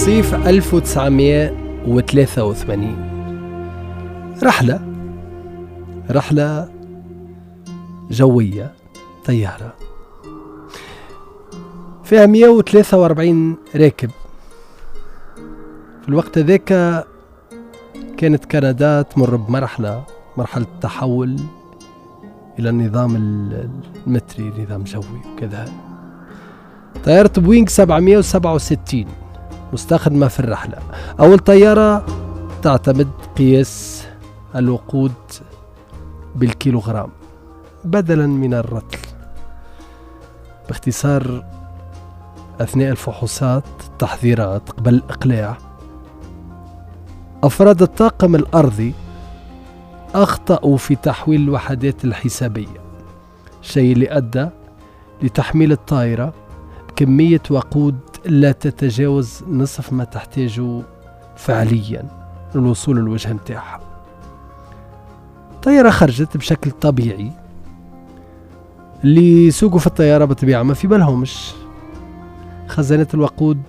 صيف 1983 رحلة جوية، طيارة فيها 143 راكب. في الوقت ذاك كانت كندا تمر بمرحلة، مرحلة التحول إلى النظام المتري، نظام جوي وكذا. طيارة بوينغ 767 مستخدمة في الرحلة، أول طيارة تعتمد قياس الوقود بالكيلوغرام بدلا من الرطل. باختصار، أثناء الفحوصات التحضيرات قبل الإقلاع، أفراد الطاقم الأرضي أخطأوا في تحويل الوحدات الحسابية، الشيء اللي أدى لتحميل الطائرة بكمية وقود لا تتجاوز نصف ما تحتاجه فعليا للوصول للوجهة متاعها. الطائرة خرجت بشكل طبيعي، اللي يسوقوا في الطيارة بالطبيعة ما في بالهمش خزانة الوقود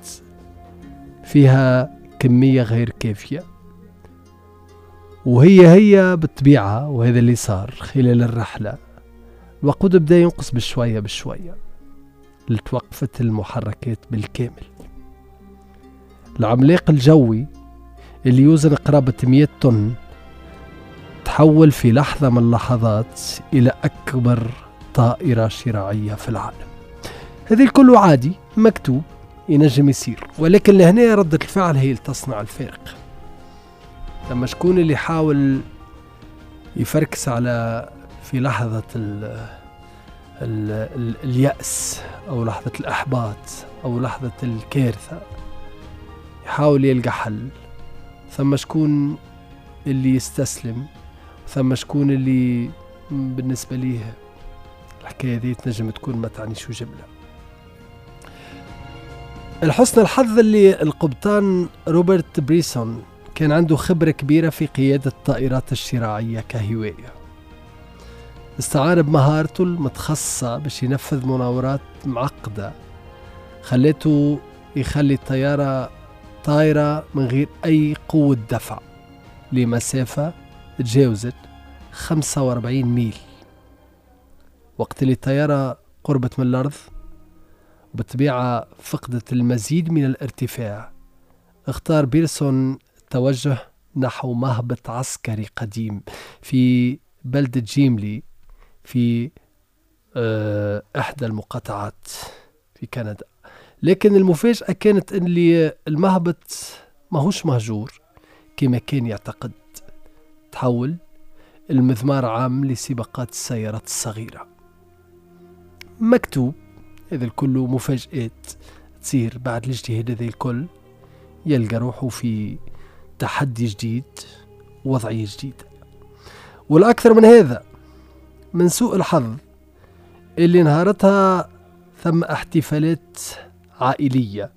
فيها كمية غير كافية، وهي هي بالطبيعة. وهذا اللي صار خلال الرحلة، الوقود بدأ ينقص بشوية بشوية لتوقفت المحركات بالكامل. العملاق الجوي اللي يوزن قرابة 100 طن تحول في لحظة من اللحظات إلى أكبر طائرة شراعية في العالم. هذه الكل عادي مكتوب ينجم يصير، ولكن لهنا ردة الفعل هي اللي تصنع الفارق. لما شكون اللي حاول يفركس على في لحظة ال ال ال اليأس أو لحظة الإحباط أو لحظة الكارثة يحاول يلقى حل، ثم شكون اللي يستسلم، ثم شكون اللي بالنسبة ليه الحكاية دي تنجم تكون ما تعنيش جملة. الحسن الحظ اللي القبطان روبرت بريسون كان عنده خبرة كبيرة في قيادة الطائرات الشراعية كهواية. استعان بمهارته المتخصصة باش ينفذ مناورات معقدة خلته يخلي الطيارة طايرة من غير أي قوة دفع لمسافة تجاوزت 45 ميل. وقت اللي الطيارة قربت من الأرض بالطبيعة فقدت المزيد من الارتفاع، اختار بيرسون التوجه نحو مهبط عسكري قديم في بلدة جيملي في إحدى المقاطعات في كندا. لكن المفاجأة كانت أن المهبط ماهوش مهجور كما كان يعتقد، تحول المذمار عام لسباقات السيارات الصغيرة. مكتوب هذا الكل مفاجآت تصير بعد الاجتهاد هذا الكل، يلقى روحه في تحدي جديد، وضعية جديدة. والأكثر من هذا، من سوء الحظ اللي نهارتها ثم احتفالات عائلية